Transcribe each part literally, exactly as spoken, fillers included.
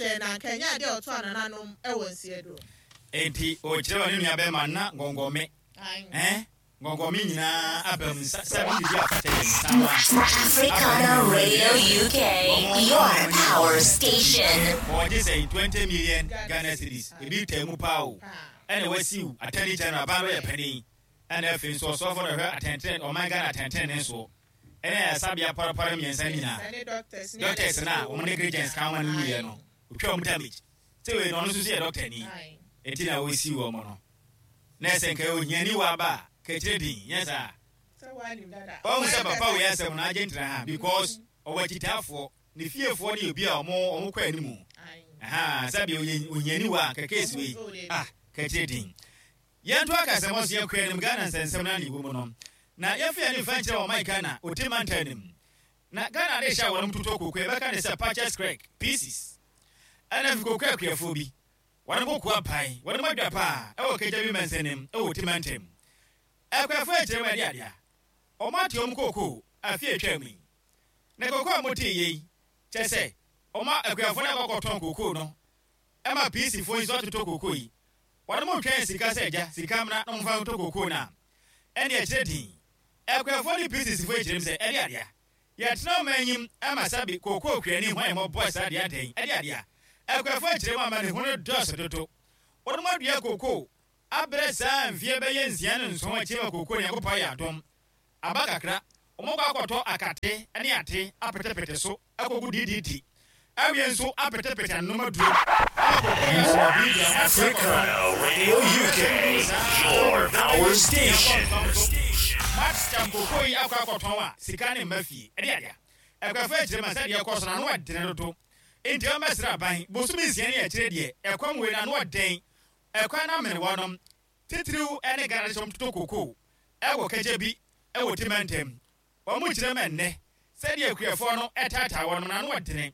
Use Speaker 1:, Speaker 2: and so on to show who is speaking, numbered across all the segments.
Speaker 1: Ahwɛ na nka ɛnyɛ adeɛ a ɔtɔ anananom ɛwɔ nseɛ do.
Speaker 2: Enti ɔkyerɛ wɔ ne nua bɛrima na ngɔngɔme ɛn ngɔngɔme nyinaa aba mu nsa sɛbi didi afata yɛ nsa wa.
Speaker 3: Africana Radio U K, your power station.
Speaker 2: Wɔgye sɛ twenty million Ghana cedis, ebi taa mu paa o. Ɛna wasiw Attorney General ban yɛ panin, ɛna afei nso ɔsɔfo na ɔhwɛ atɛntɛn ɔman Ghana atɛntɛn ne soɔ, ɛna ɛsabea parapara mmiɛnsa no nyinaa.
Speaker 1: Ɛne doctors ne
Speaker 2: doctors na wɔn negligence ka wɔn no wuyɛ no, otwa wɔn damage sɛ wei no, ɔno nso so yɛ doctor ni.
Speaker 1: Aye.
Speaker 2: Eti na wɔsi wɔn no na ɛsɛ nka ohiani wɔ aba a kɛkyerɛ din nyɛ saa.
Speaker 1: Sɛ woanim dada.
Speaker 2: Wɔn sɛ papa wei asɛm no agye ntena ha because ɔwɔ akyitaafoɔ, ne fiefoɔ ne obi a ɔmo ɔmo kɔ animu.
Speaker 1: Aye.
Speaker 2: Aha, sɛbi oye ohiani wɔ a kɛkɛ wei ah kɛkyerɛ din. Yɛnto akasɛm so, yɛkɔ anim. Ghana nsɛnsɛm no ne wɔ mu no na yɛfa yɛn mfa nkyerɛ ɔman Ghana ɔte mantam no mu na Ghana de hyɛ a wɔnom totɔ koko, yɛbɛka ne sɛ purchase clerk P Cs, ɛna fi koko akuafoɔ bi wɔn koko apae wɔn adwa paa ɛwɔ Kagya bi mansanim ɛwɔ ɔte mantam. Akuafoɔ akyerɛ mu ɛde adeɛ wɔn ate wɔn koko afi atwa mu yi na koko a wɔte yɛ yi kyɛ sɛ wɔn akuafoɔ no akɔkɔtɔn koko no ɛma P C foɔ yi nso atotɔ koko yi, wɔn mo twɛn sika sɛ agya sika mmra na wɔmfa ntɔ koko no a ɛne ɛkyerɛ din. Akuafoɔ ne P C foɔ akyerɛ mu sɛ ɛde adeɛ yɛtena ɔman anyim ama sabi koko kuani ho a yɛmɔbɔ saa deɛ adɛn ɛde adeɛ akuafoɔ akyerɛ mu ama ne ho no dɔɔso dodo. Wɔn mo adua koko abrɛ saa mfeɛ bɛyɛ nsia ne nson akyi ma koko ne Nyankopɔn ayɛ adom aba kakra, wɔn kɔ akɔtɔ akate ne ate apetepete so akɔgu D D T awie nso apetepete anoma duro ama koko no so bi.
Speaker 4: Africana Radio U K, your power station.
Speaker 2: Maxcam koko yi akɔ akɔtɔn a sika ne mma fie ɛde adeɛ akuafo akyerɛ ma sɛdeɛ ɛkɔ so na ano ɔdene dodo, nti ɔmmɛsrɛ aban bosome nsia ne akyire deɛ ɛkɔm wei na ano ɔden ɛkwan no amene wɔnom titiriw ne Ghana de hyɛm toto koko ɛwɔ Kagya bi ɛwɔ Timantam. Wɔn mo kyerɛ ma nnɛ sɛdeɛ akuafoɔ no ɛtaataa wɔnom na ano ɔdene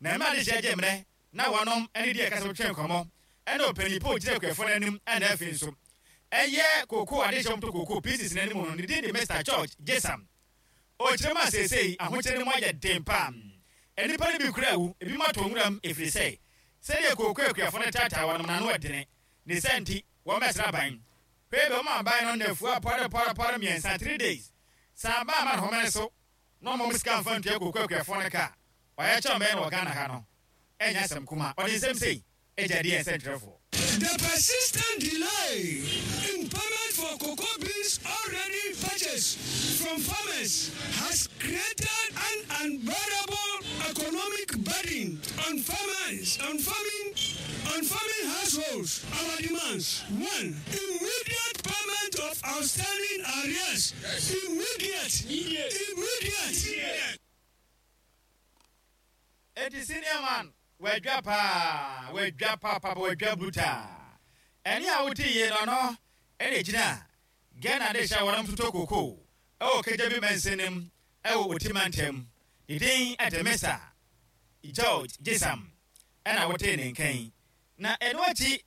Speaker 2: na mma de hyɛ gye mmerɛ na wɔnom ɛne deɛ ɛkasa twɛn nkɔmmɔ ɛna ɔpanin po gyina akuafoɔ no anim, ɛna afei nso ɛyɛ koko adehyɛm to koko P Cs n'anim no, ne din de Mister George Jesam. Ɔkyerɛ mu a seesei ahokyere no mu ayɛ den paa, nnipa no bi kura awu, ebi mu atɔ nwuram ɛfiri sɛ sɛdeɛ koko akuafoɔ no taataa wɔnom n'ano ɛdene ne sɛ nti wɔn bɛsrɛ aban hwee bɛ wɔn aban no nnafua pɔre pɔre pɔre mmiɛnsa, three days, san ba ama ne homene so na ɔmo sika nfa ntua koko akuafoɔ no ka ɔyɛ kyɛn bɛyɛ no wɔ Ghana ha no. Ɛnyɛ asɛm kuma ɔde nsɛm sei agya deɛ nsɛntwerɛfoɔ.
Speaker 5: The persistent delay in payment for cocoa beans already purchased from farmers has created an unbearable economic burden on farmers, on farming, on farming households. Our demands: one, immediate payment of outstanding arrears. Immediate. Immediate.
Speaker 2: Eti senior man wadwa paa, wadwa paapaa, wadwa brutal. Ɛne a wote yie no no ɛna gyina Ghana de hyɛ wɔn toto koko ɛwɔ Kagya bi mansanim ɛwɔ Oti mantam, ne din ɛde Mister George Jesam ɛna wote ne nkan. Na ɛno akyi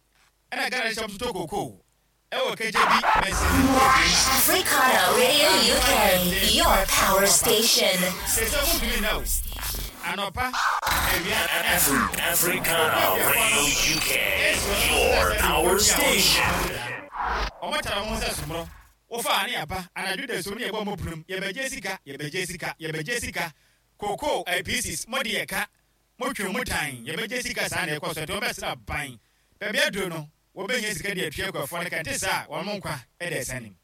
Speaker 2: ɛna Ghana de hyɛ toto koko ɛwɔ Kagya bi mansanim.
Speaker 3: Africana Radio U K, your power station.
Speaker 2: Sɛ sɛ wotumi na o anɔpa awia.
Speaker 4: Afri- Africana Radio U K, your power station.
Speaker 2: Ɔmo kyerɛ wɔn sɛ somorɔ wofa ne aba anadwo da so ne yɛbɔ mo punum, yɛbɛgye sika, yɛbɛgye sika, yɛbɛgye sika koko P Cs mo de yɛ ka motwe mo tan, yɛbɛgye sika. Saa na ɛkɔ so nti wɔbɛsrɛ aban baabi aduro no wɔbɛnya sika de atua akuafoɔ no ka nte saa a wɔn mo nkwa ɛda ɛsa nim.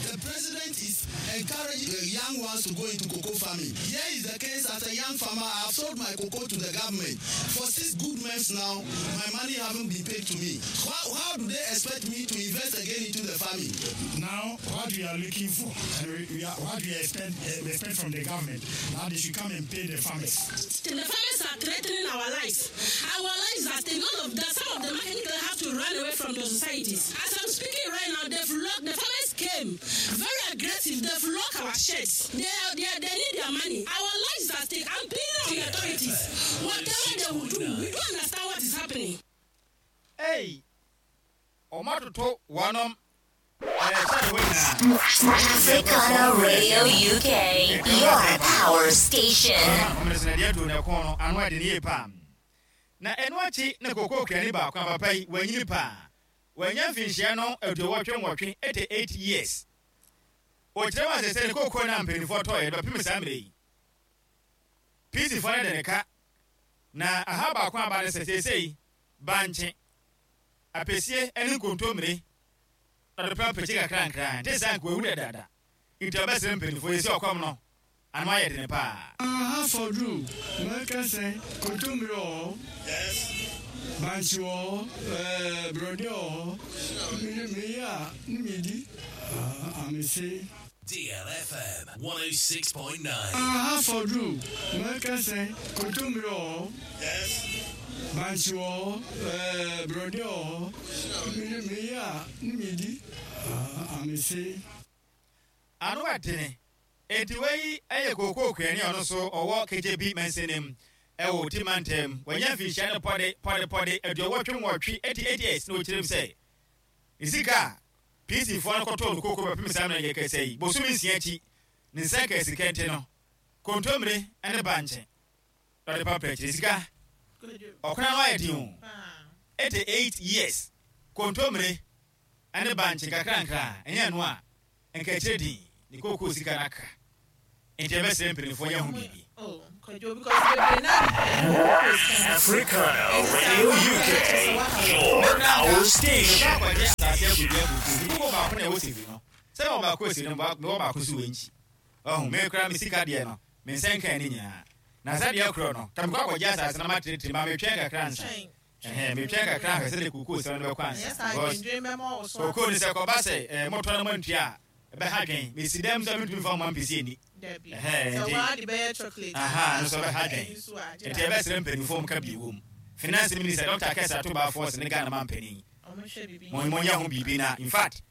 Speaker 5: The president is encouraging the young ones to go into cocoa farming. Here is the case: as a young farmer, I have sold my cocoa to the government. For six good months now, my money haven't been paid to me. How, how do they expect me to invest again into the farming?
Speaker 6: Now, what we are looking for, and we, we are, what we expect, uh, we expect from the government, now they should come and pay the farmers.
Speaker 7: The farmers are threatening our lives. Our lives are stake. None of that. Some of the market have to run away from the societies. As I'm speaking right now, they've locked. The farmers came very aggressive. They've locked our sheds. They, are, they, are, they need their money. Our lives are stake. I'm pleading on the authorities. Whatever they will do, we don't understand what is happening.
Speaker 2: Ei, ɔmo atoto wɔnom
Speaker 3: Africana Radio U K, your power station.
Speaker 2: Na eno achi na koko krani ba kwa papa yi wanyini pa wanya mfinhia no aduowɔtwe nwɔtwe eighty-eight years o kyerɛ wa sɛ ne koko na mpanimfoɔ tɔ yɛ dɔpem saa mmerɛ yi P C foɔ ne de ne ka na aha baako aba ne sɛ seesei bankye apɛsie ne nkontommire ɔde pɛpɛkyi kakra nkra nte saa nka wawu dadaada nti ɔbɛsrɛ mpanimfoɔ yɛ sɛ ɔkɔm no ano ayɛ dene paa.
Speaker 6: Aha fɔduru mɛka sɛ kontommire wɔ hɔ, bankye wɔ hɔ, ɛɛ borɔdeɛ wɔ hɔ, meyɛ a ne medi amese.
Speaker 4: D L F M one oh six point nine.
Speaker 6: Aha fɔduru mɛka sɛ kontommire wɔ hɔ, bankye wɔ hɔ, ɛɛ borɔdeɛ wɔ hɔ, meyɛ a ne medi amese.
Speaker 2: Ano adene enti wei ɛyɛ kookoo kuani ɔno so ɔwɔ K J B mansinim ɛwɔ Timantem wanya mfinhyia ne pɔde pɔde pɔde aduɔwɔtwe nwɔtwe eighty-eight years na ɔkyerɛm sɛ ne sika P C foɔ no kɔtɔɔ no kookoo bɛpem saa mmerɛ yɛ kɛsɛ yi bosome nsia akyi ne nsa ka sika nti no kontommire ne bankye ɔde papa akyire sika ɔkona no ayɛ den o eighty-eight years kontommire ne bankye nkakrankra ɛnyɛ no a nka akyire din ne kookoo sika no aka nti ɛbɛsrɛ mpanimfoɔ yɛ ho biribi.
Speaker 4: Africana Radio U K, your power station.
Speaker 2: Finance Minister Doctor Kesa Tuba Force ne Ghana man penny. Mo mo ya ho bibi na in fact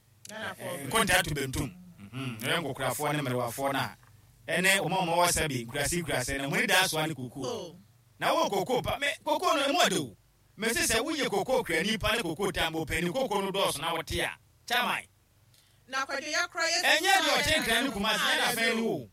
Speaker 2: nkonta to bentum. Mhm. Re nkokurafo ne merewafo na ene omo mo wasa bi nkurase nkurase na mo ni da so ane koko. Na wo koko pa me koko no mo ade. Me se se wo ye koko krani pa ne koko tambo penny koko no do so na wote a. Chairman.
Speaker 1: Na kwadwo ya kra ye.
Speaker 2: Enye de ochen kran kuma se na fa ni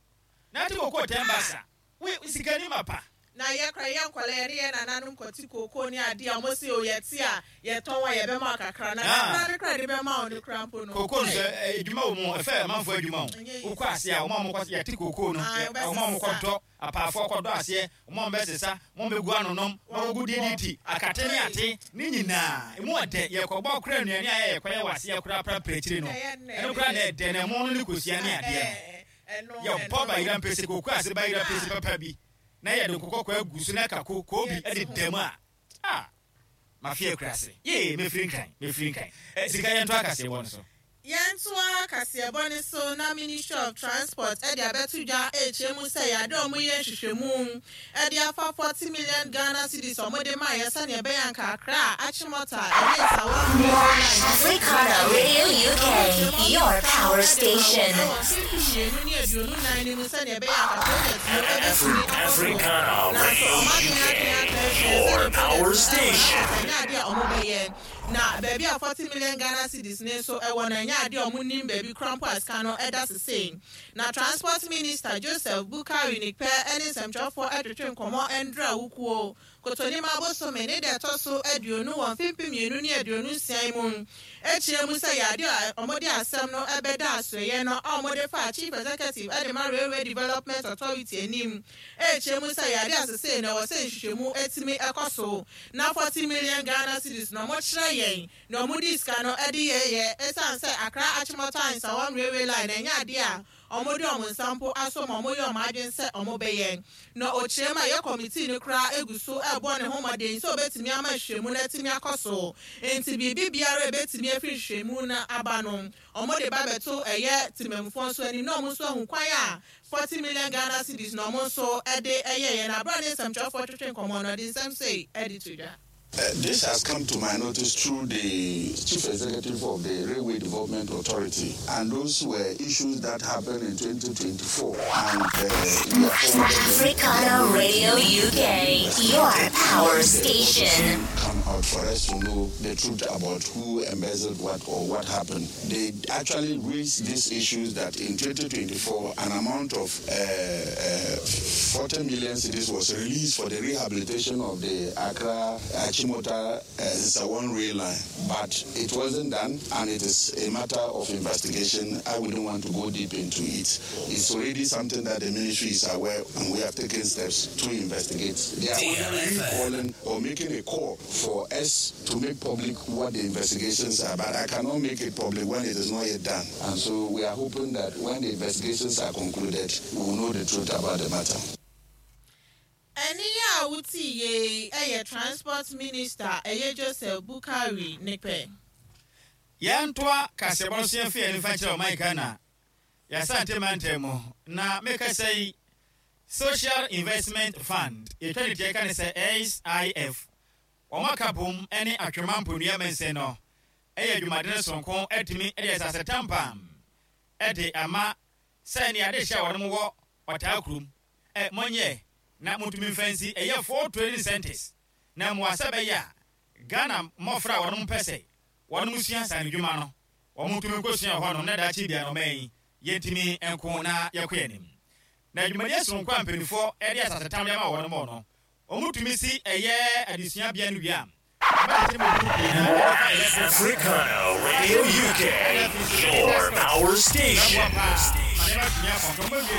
Speaker 2: Na ti koko tembasa. We sikani mapa.
Speaker 1: Na ye kra ye nkwale ne ye nananum koti koko ni ade a mo se o ye ti a ye ton wa ye be ma kakra na kakra ne kra de be ma oni kra mpo no
Speaker 2: koko no edwuma wo mo efe manfo adwuma wo ukọ ase a wo ma mo ye ti koko no wo ma mo kɔdɔ apafo kɔdɔ ase wo ma mbɛsesa mo mbegu anonom na wo gu D D T akate ne ate ne nyina emu ɔdɛ ye kɔbɔ kra nnuane a ye kɔyɛ wase ye kra pra prechiri no eno kra na ɛdɛ na mo no ne kosia ne ade no ye bɔ ba yira mpese koko ase ba yira pese papa bi na ye de kokoko agu so na kako ko bi e de dem a ah mafia krase ye me free nkan me free nkan sika ye nto akase bo no so
Speaker 1: ye nto akase bo ne so na Ministry of Transport e de abetu dwa eche mu se ya de omo ye nhwehwemu e de afa forty million Ghana cedis omo de ma ye se ne be yan kakra achimota e ne sawa
Speaker 3: Africana Radio U K, your power station.
Speaker 4: Africana Radio U K, your power station.
Speaker 1: Na baby a forty million Ghana cedis ne so e wona nya ade omo nim baby crampo aska no e da sese na Transport Minister Joseph Bukari Nikpe ene nsɛmtwerɛfoɔ ɛtwetwe nkɔmmɔ ɛndra wukuo kotoni ma bosome ne de ɛtɔ so aduonu wɔ mfimfini mmienu ne aduonu nsia mu ekyirɛ mu sɛ yɛade a ɔmode asɛm no ɛbɛda asoeɛ no a ɔmode fa Chief Executive ɛde ma Railway Development Authority anim ekyirɛ mu sɛ yɛade asese na ɛwɔ sɛ nhwehwɛmu etimi ɛkɔ so na forty million Ghana cedis na ɔmo kyerɛ yɛn na ɔmo di sika no ɛde yɛyɛ ɛsiane sɛ Accra Achimota Nsawam Railway line ɛnyɛ adeɛ a ɔmo de ɔmo nsampo aso ma ɔmo yɛ ɔmo adwene sɛ ɔmo bɛyɛ na ɔkyerɛ ma yɛ committee no koraa egu so ɛbɔ ne ho mmɔden sɛ ɔbɛtumi ama nhwehwɛmu no atumi akɔ so nti biribi biara ebɛtumi afiri nhwehwɛmu no aba no ɔmo de ba bɛto ɛyɛ temammufoɔ nso anim na ɔmo nso ahu kwan a forty million Ghana cedis na ɔmo nso ɛde ɛyɛ yɛn abira ne nsɛmtwerɛfoɔ twetwe nkɔmmɔ no ɔde nsɛm sei ɛde to dwa.
Speaker 5: Uh, this has come to my notice through the chief executive of the Railway Development Authority, and those were issues that happened in twenty twenty-four. And uh, we are
Speaker 3: Africana Radio U K, your power station.
Speaker 5: Come out for us to know the truth about who embezzled what or what happened. They actually raised these issues that in twenty twenty-four, an amount of uh, uh, forty million cedis was released for the rehabilitation of the Accra Achimota uh, Nsawam rail line, but it wasn't done, and it is a matter of investigation. I wouldn't want to go deep into it. It's already something that the ministry is aware, and we have taken steps to investigate. They are only calling or making a call for us to make public what the investigations are, but I cannot make it public when it is not yet done. And so we are hoping that when the investigations are concluded, we will know the truth about the matter.
Speaker 1: Ɛne yɛ a wotii yie ɛyɛ Transport Minister, ɛyɛ Joseph Bukari Nikpe.
Speaker 2: Yɛntoa kaseɛbɔ no so, yɛmfa yɛn nifa nkyerɛ ɔman Ghana, yɛasante mantam mu na mekasa yi, Social Investment Fund, yɛtwa ne tiɛ ka ne sɛ S I F, wɔn aka bom ne Atwema Mponua Mɛnsɛn no ɛyɛ adwumaden sononko atumi de asase tampam ɛde ama sɛ ne ade hyɛ a wɔn wɔ ɔtaa kurom ɛ mɔnyɛ na motumi mfa nsi ɛyɛ four training centers na mmoa sɛ bɛyɛ a Ghana mmɔfra a wɔn mpɛ sɛ wɔn sua sane dwuma no, wɔn tumi nkɔsua wɔ hɔnom na daakye bia no ɔman yi yɛntumi nko na yɛkɔ yɛn anim. Na dwumadie sononko a mpanimfoɔ de asase tam de ama wɔn mɔ no, wɔn tumi si ɛyɛ adesuabea no wie a
Speaker 4: Africana Radio U K, your power station.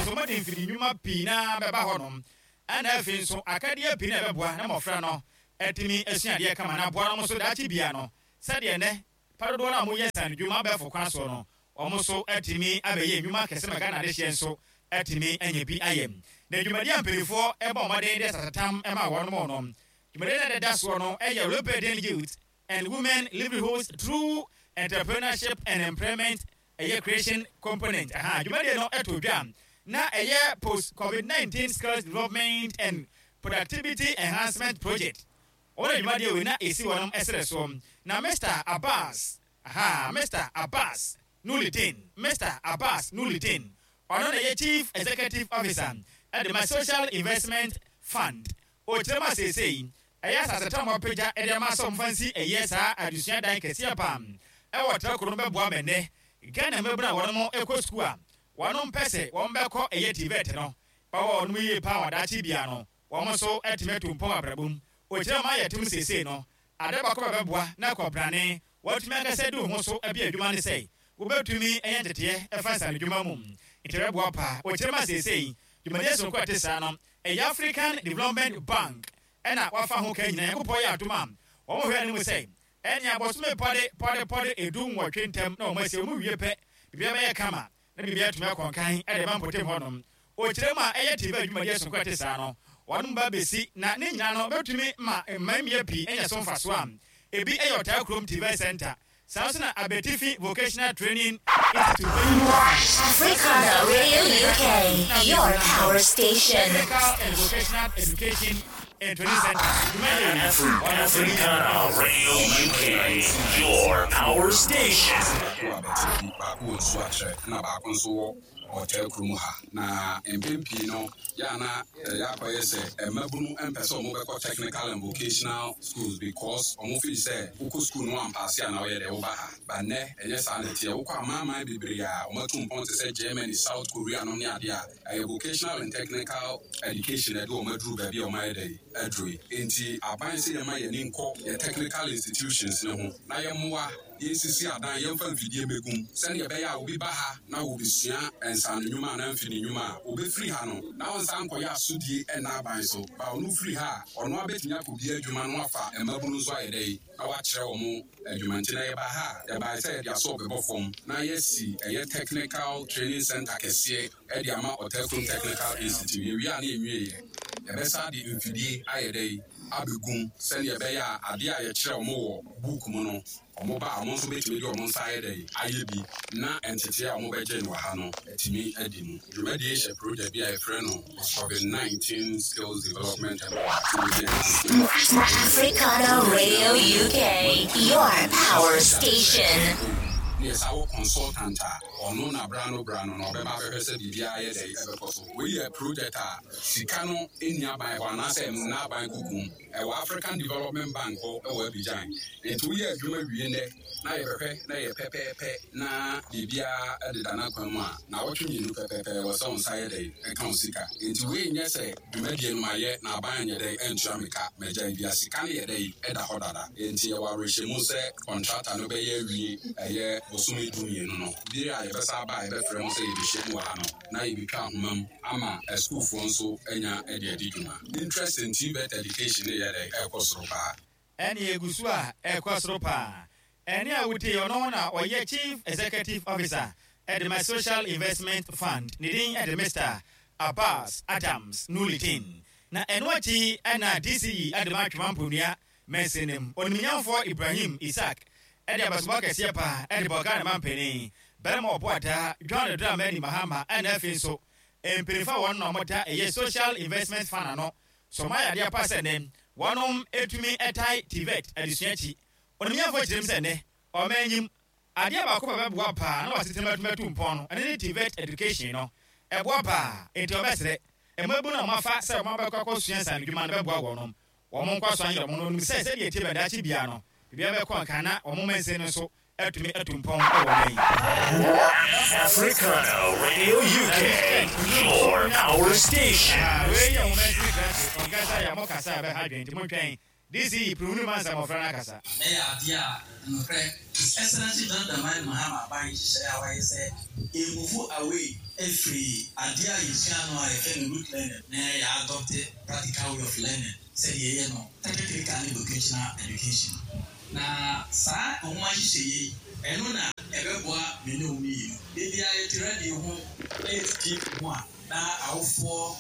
Speaker 2: Ɔmɔde mfiri nnwuma pii na bɛba hɔnom, ɛna afei nso akadeɛ pii na ɛbɛboa na mmɔfra no atumi asua adeɛ kama na aboa no nso daakye bia no, sɛdeɛ nnɛ padodoɔ no a moyɛ sane dwuma abɛɛfo kwan soɔ no, ɔmo nso atumi abɛyɛ nnwuma kɛse ma Ghana adehyeɛ nso atumi anya bi ayɛ. Na dwumadie a mpanimfoɔ ɛbɔ mmɔden de asasetam ma wɔn mo no, dwumadie no a ɛdeda soɔ no ɛyɛ Rebuilding Youth and Women Livelihoods Through Entrepreneurship and Employment, ɛyɛ creation component. Aha dwumadie no ɛto dwa na ɛyɛ post COVID nineteen skills development and productivity enhancement project. Wɔn dwumadie wei na esi wɔn ɛsrɛ soɔ na Mister Abbas, aha Mister Abbas Nulidin, Mister Abbas Nulidin, ɔno na yɛ chief executive officer ɛde ma Social Investment Fund. Ɔkyerɛ mu aseesei ɛyɛ asasetam a ɔpagya ɛde ama sɛ ɔmfa nsi ɛyɛ saa adesua dan kɛseɛ pam ɛwɔ trako no bɛboa ma nnɛ Ghana mmabunu a wɔn ɛkɔ sukuu a wɔn mpɛ sɛ wɔn bɛkɔ ɛyɛ TVET no bɛwɔ wɔn yie paa, wɔn adaakye bia no wɔn nso ɛtumi atu mpɔn abrabɔ mu. Ɔkyerɛ mu ayɛ tum seesei no ade baako bɛbɛboa na kɔbrane wɔtumi ankasa di ho so abi adwuma ne sɛ wobɛtumi ɛyɛ nteteɛ ɛfa nsane dwuma mu, nti ɛbɛboa paa. Ɔkyerɛ mu aseesei dwumadie sononko a ɛte saa no ɛyɛ African Development Bank ɛna wafa ho ka nyinaa. Nyankopɔn yɛ adom a, wɔn hwɛ anim sɛ ɛne abɔsome pɔde pɔde pɔde edu nwɔtwe ntɛm na wɔn asi wɔn wie pɛ, biribiara bɛyɛ kama na biribiara atumi akɔnkan ɛde ba mpɔtam hɔnom. Ɔkyerɛ mu a ɛyɛ T V adwumadie sononko a ɛte saa no, wɔn ba bɛsi na ne nyinaa no bɛtumi ma mmaa pii ɛnyɛ so mfaso a ebi ɛyɛ Ɔtaa Kurom T V Center, saa nso na Abetifi Vocational Training Institute.
Speaker 3: Africana Radio U K, your power station.
Speaker 2: Technical and Vocational Education and Training Center.
Speaker 4: Africana Radio U K, your power station.
Speaker 8: Baako wɔ Abɛtifi, baako wɔ Nsuakyerɛ, na baako nso wɔ Ɔtaa Kurom ha. Na mpɛn pii no yɛ ana ɛyɛ akɔyɛ sɛ mmabunu mpɛ sɛ ɔmo bɛkɔ technical and vocational schools because ɔmo feel sɛ wokɔ school no ampaase a na ɔyɛ dɛ woba ha. Ba nnɛ ɛnyɛ saa na ɛteɛ. Wokɔ amanaman bebree a ɔmo mpɔn te sɛ Germany, South Korea nom ne adeɛ a, ɛyɛ vocational and technical education ɛde ɔmo aduru baabi a ɔmo ayɛ dɛ aduru yi. Nti aban sɛ yɛma yɛni nkɔ yɛ technical institutions ne ho na yɛmmoa yɛnsisi adan, yɛmfa mfidie mmɛgum sɛdeɛ ɛbɛyɛ a obi ba ha na wɔbɛsua nsano nnwuma anaa mfidi nnwuma a obɛfiri ha no na ɔnsa nkɔyɛ asodie ɛna aban so ba. Ɔno firi ha a, ɔno abɛtumi akɔbia adwuma no afa mmabunu nso ayɛ dɛ na wakyerɛ wɔn adwuma. Nti na yɛba ha a, yɛbae sɛ yɛde asɔ bɛbɔ fam na yɛsi ɛyɛ technical training center kɛseɛ ɛde ama Ɔtakurom Technical Institute. Yɛwie a ne yɛnwieɛ. Yɛbɛsa de mfidie ayɛ dɛ abɛgum sɛnea ɛbɛyɛ a adeɛ a yɛkyerɛ ɔmo wɔ book mu no, ɔmo ba a, ɔmo nso bɛtumi de ɔmo nsa ayɛ dɛ ayɛ bi na ntetee a ɔmo bɛgye no wɔ ha no atumi adi mu. Dwumadie hyɛ project bi a yɛfrɛ no COVID nineteen Skills Development and Productivity Enhancement.
Speaker 3: Africana Radio U K, your power station.
Speaker 8: Ne yɛ saa wɔ consultant a ɔno na bra no bra no na ɔbɛba abɛhwɛ sɛ biribiara yɛ dɛ ɛbɛkɔ so. Wei yɛ project a sika no ɛnni aban hɔ anaasɛ nna aban kukum, ɛwɔ African Development Bank hɔ ɛwɔ Abidjan. Nti woyɛ adwuma wie nnɛ na yɛbɛhwɛ na yɛ pɛpɛɛpɛ na biribiara ɛdeda n'akwan mu a, na wɔtwe mmienu pɛpɛɛpɛ wɔ sɛ wo nsa yɛ dɛ ɛka wo sika. Nti wei nyɛ sɛ dwumadie no mayɛ na aban nyɛ dɛ ɛntua me ka magya bia. Sika no yɛ dɛ ɛda hɔ dada, nti yɛwɔ awerɛhyɛmu sɛ contractor no bɛyɛ awie ɛyɛ bosome du mmienu no bere a yɛbɛsa aba a yɛbɛfrɛ ho sɛ yɛbɛhyɛ mu wɔ ha no na yɛbɛtwa ahoma mu ama asukuufoɔ nso anya de adi dwuma. Interest in TVET education ne yɛ dɛ ɛkɔ soro paa.
Speaker 2: Ɛne egu so a ɛkɔ soro paa. Ɛne a wotie, ɔno na ɔyɛ Chief Executive Officer ɛde ma Social Investment Fund, ne din ɛde Mister Abbas Adams Nulitin. Na ɛno akyi ɛna D C E ɛde ma Atwima Mponua mansinim, onimnyamfoɔ Ibrahim Isaac, ɛde abasobɔ kɛseɛ paa ɛde bɔ Ghana mampanin bɛrima ɔboadaa John Dramani Mahama, ɛna afei nso mpanyinfoɔ a wɔn na wɔda ɛyɛ Social Investment Fund ano so ɔmo ayɛ adeɛ pa sɛ nnɛ wɔnom etumi ɛtae TVET adesua akyi. Onimnyamfoɔ kyerɛ mu sɛ nnɛ ɔman enyim adeɛ baako pa bɛboa paa na wasetena bɛtumi atu mpɔn no, ɛne ne TVET education no ɛboa paa. Nti ɔbɛsrɛ mmabunu a wɔafa sɛ wɔn abɛkɔ akɔsua nsanodwuma no bɛboa wɔnom wɔn nkɔ so anyerɛ wɔn no onim sɛ sɛdeɛ tie bɛdaakye bia no biribiara bɛkɔ nka na wɔn mansin no nso atumi atu mpɔn wɔ ɔman yi.
Speaker 4: Africana Radio U K, your power station.
Speaker 2: Wei yɛ wɔn mansin krakye ɔnkasa yɛ mo kasa a bɛha adwene, nti montwɛn D C E pirimu no mansa mmɔfra no akasa.
Speaker 9: Ɛyɛ adeɛ a nokorɛ His Excellency John Dramani Mahama aban nhyehyɛeɛ a wayɛ sɛ yɛ move away efiri adeɛ a yɛsua no a yɛfrɛ no rote learning na yɛ adopt practical way of learning sɛdeɛ yɛyɛ no technical ne vocational education. Na saa nwoma nhyehyɛeɛ yi, ɛno na ɛbɛboa me ne wo mmienu. Ebi a yɛte radio ho na yɛte T V ho a, na awofoɔ,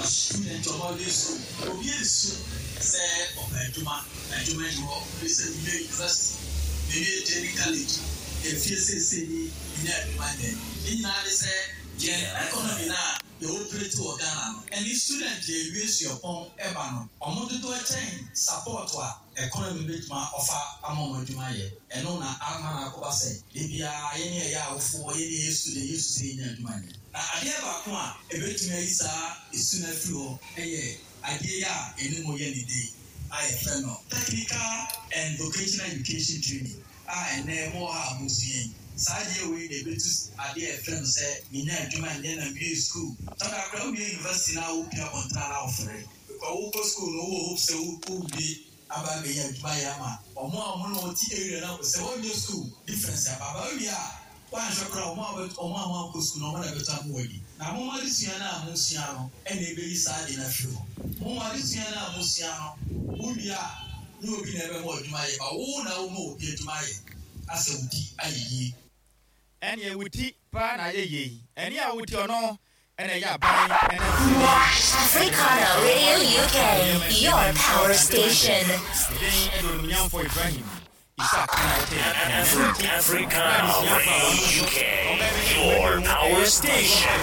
Speaker 9: student ɔmo awie school, obi esu sɛ ɔpɛ adwuma, adwuma ni hɔ. Obi sɛ mewie university, mewie training college, efie seesei ni nya adwuma nyɛ. Ne nyinaa de sɛ yɛn economy na yɛ operate wɔ Ghana no, ɛne student yɛ ewie suapɔn ɛba no, ɔmo dodoɔ kyɛn support a economy bɛtuma ɔfa ama ɔmo adwuma yɛ. Ɛno na ama na akɔba sɛ ebiara yɛne ɛyɛ awofoɔ, yɛne ɛyɛ student, yɛ su sɛ yɛnya adwuma nyɛ. Na adeɛ baako a ebɛtumi ayi saa esu no afiri hɔ ɛyɛ adeɛ yi a ɛne mo yɛ ne de a yɛfrɛ no technical and vocational education training a ɛnɛ mo wɔ ha a mo sua yi. Saa adeɛ wei na ebetu adeɛ a yɛfrɛ no sɛ menya adwuma nyɛ na wie school. Tɔda akora wie university na wopia abɔntene na wofere because wokɔ school no, wowɔ hope sɛ wowie aba abɛyɛ adwuma yɛ ama ɔmo a ɔmo na wɔte area no akɔ sɛ wɔnyɛ school difference aba aba wie a wɔanhwɛ koraa, ɔmo a ɔmo a wɔankɔ school no, ɔmo na bɛtɔ ama wɔadi. Na mo adesua no a mosua no ɛna ɛbɛyi saa adeɛ no afiri hɔ. Mo adesua no a mosua no, wowie a ne obi na ɛbɛma adwuma yɛ ba wo na woma obi adwuma yɛ asɛ wo ti ayɛ yie.
Speaker 2: Ɛne wo ti paa na ayɛ yie. Ɛne a wo ti ɔno ɛna ɛyɛ aban ɛna
Speaker 3: Africana Radio U K, your power station.
Speaker 2: Den ɛde onimnyamfo Ibrahim Isaac na wote.
Speaker 4: Africana Radio U K, your power station.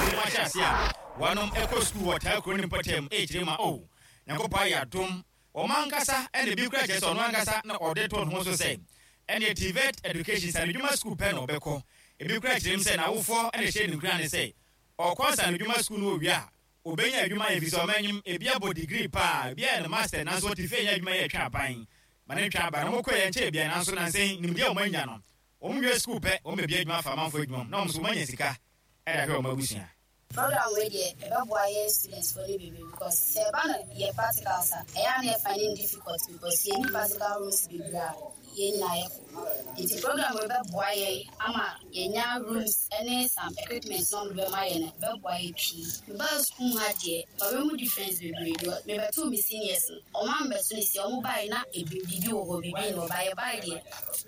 Speaker 2: Wɔnom ɛkɔ sukuu wɔ taa kuro ne mpɔtam ɛkyerɛ ma o Nyankopɔn ayɛ adom wɔn ankasa, ɛna ebi kura kyerɛ sɛ ɔno ankasa na ɔde to ne ho so sɛ ɛne TVET education sanidwuma sukuu pɛ na ɔbɛkɔ. Ebi kura kyerɛ mu sɛ n'awofoɔ ɛna ɛhyɛ ne nkura ne sɛ ɔkɔ sanidwuma sukuu no owie a obɛnya adwuma yɛ fi sɛ ɔma anim ebi abɔ degree paa, ebi ayɛ no master, nanso ɔte fie nyɛ adwuma yɛ ɛtwa aban ma ne ntwa aban na wɔn kɔ yɛ nkyɛn bia. Nanso nansɛn nimdeɛ a wɔn anya no, wɔn wie sukuu pɛ, wɔn bɛbi adwuma fa amanfoɔ adwuma mu na wɔn nso wɔn anya sika ɛde ahwɛ wɔn abusua.
Speaker 10: Program wei deɛ, ɛbɛboa yɛn students fo no bebree because sɛ ɛba no yɛ practicals a, ɛyɛ a na yɛ finding difficult because yɛni practical rooms bebree a Yɛn nyinaa yɛkɔ. Nti program wei bɛboa yɛn ama yɛnya rooms ne some equipment na ɔmo bɛma yɛn no, bɛboa yɛ pii. Mebaa school ha deɛ, mabɛhu difference bebree deɛ. Mebɛtoo me seniors no, ɔmo ambɛto ne si ɔmo bae na ebi biribi wɔ hɔ, biribi na ɔba. Yɛbae deɛ,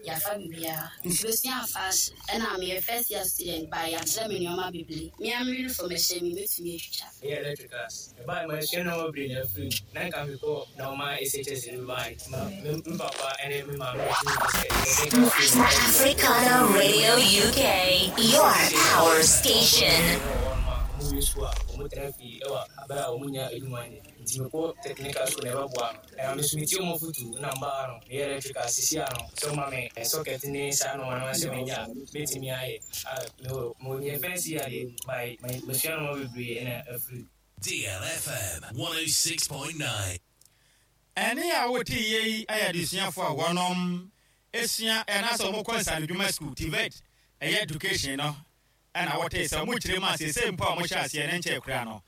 Speaker 10: yɛafa biribiara. Nti bɛsua fashion, ɛna meyɛ first year student, ba yɛakyerɛ me nneɛma bebree. Me a me uniform ɛhyɛ me, mɛtumi atwitwa.
Speaker 11: Meyɛ electricals. Ɛbaa ma esua nneɛma bebree na afiri mu. Na nka mekɔ na ɔma S H S no bae. Ma me me papa ne me maame tumi sɛ yɛde school.
Speaker 3: Africana Radio U K, your power station.
Speaker 11: Ɔmo wie school a, ɔmo tena fie ɛwɔ abere a ɔmo nya adwuma nyɛ. Nti mekɔ technical school na ɛbɛboa me. Ɛna me nso metie ɔmo fotu na mbaa no meyɛ electrical sisi a no sɛ ɔma me socket ne saa nneɛma no sɛ menya a mɛtumi ayɛ. A mewɔ meyɛ first year deɛ, by masua nneɛma bebree ɛna afiri.
Speaker 4: D L F M one oh six point nine.
Speaker 2: Ɛne a wote yie yi ayɛ adesuafoɔ a wɔnom esua ɛna sɛ wɔkɔ nsanodwuma school, TVET, ɛyɛ education no, ɛna wɔte sɛ wɔn kyerɛ mu a seesei mpo a wɔhyɛ aseɛ ne nkyɛn kura no,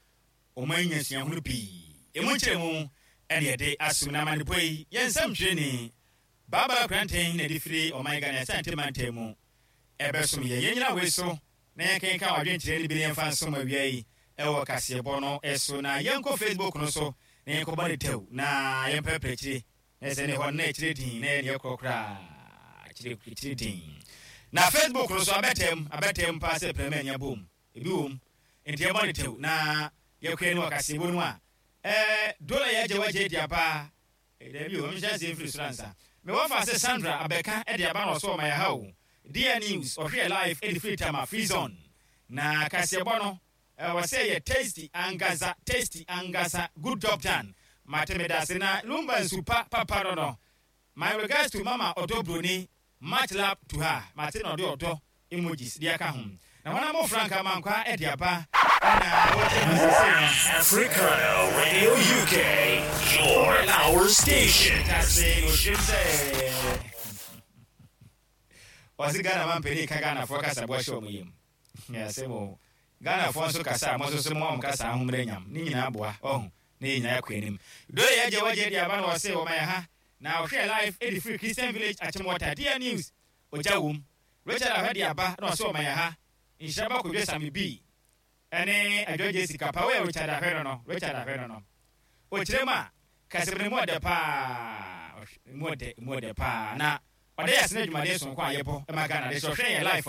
Speaker 2: wɔn anya suahunu pii emu nkyerɛ mu. Ɛne yɛde asom na amanepɔ yi, yɛn nsɛm twerɛni Baabara Kranten na ɛde firi ɔman Ghana Asante mantam mu ɛbɛsom yɛn. Yɛn nyina wei so na yɛnkenka wadwenkyerɛ no bi ne yɛmfa nsom awia yi ɛwɔ kaseɛbɔ no ɛso, na yɛnkɔ Facebook no so na yɛnkɔbɔ ne tɛw na yɛmpɛpɛ akyire na ɛsɛ ne hɔ no na akyire din na yɛne yɛkorɔ koraa akyire akyire din na Facebook no so abɛtɛm abɛtɛm paa sɛ prɛmɛ anya bom ebi wɔ mu, nti yɛbɔ ne tɛw na yɛkɔɛ no wɔ kaseɛbɔ no mu a ɛɛ dola yɛagye wagye di aba. Dabi o, ɔmehyɛ ase mfiri soro ansa mewɔ fa sɛ Sandra abɛka de aba na ɔso ɔma yɛ ha o. Dear News, ɔhwɛ live ɛde firi Tama Free Zone na kaseɛbɔ no ɛwɔ sɛ yɛ tasty ankasa, tasty ankasa. Good job done, mate, me dase. Na Lumba nsupa papa no no my regards to Mama Ɔdɔ Broni, much love to her. Mate, na ɔde ɔdɔ emojis de aka ho na wɔn a mo Frank Amankwa ɛde aba ɛna wɔkyɛ mu sese no.
Speaker 4: Africana Radio U K, your power station.
Speaker 2: Kase ohyem sɛ ɔse Ghana ma mpanin ka Ghanafoɔ kasa boa hyɛ ɔmo yam. Asɛm o, Ghanafoɔ nso kasa a mo nso so mo a mo kasa ahommerɛ nyam ne nyinaa boa ɔho na yɛ nyinaa kɔ anim. Do yɛ agye wagye de aba na ɔse wɔma yɛ ha na ɔhwɛ live ɛde firi Christian Village, Akyemwɔta. Dear News, ogya wom. Richard Ahwɛ de aba na ɔse wɔma yɛ ha, nhyira ba Kodwo Same bi ɛne Adwa Sika pa wɔyɛ. Richard Ahwɛ no no Richard Ahwɛ no no ɔkyerɛ mu a kasɛm no mu ɔdɛ paa, mu ɔdɛ, mu ɔdɛ paa, na ɔdɛ yɛ asene adwumaden sonko a yɛbɔ ɛma Ghana de sɛ ɔhwɛ yɛn live.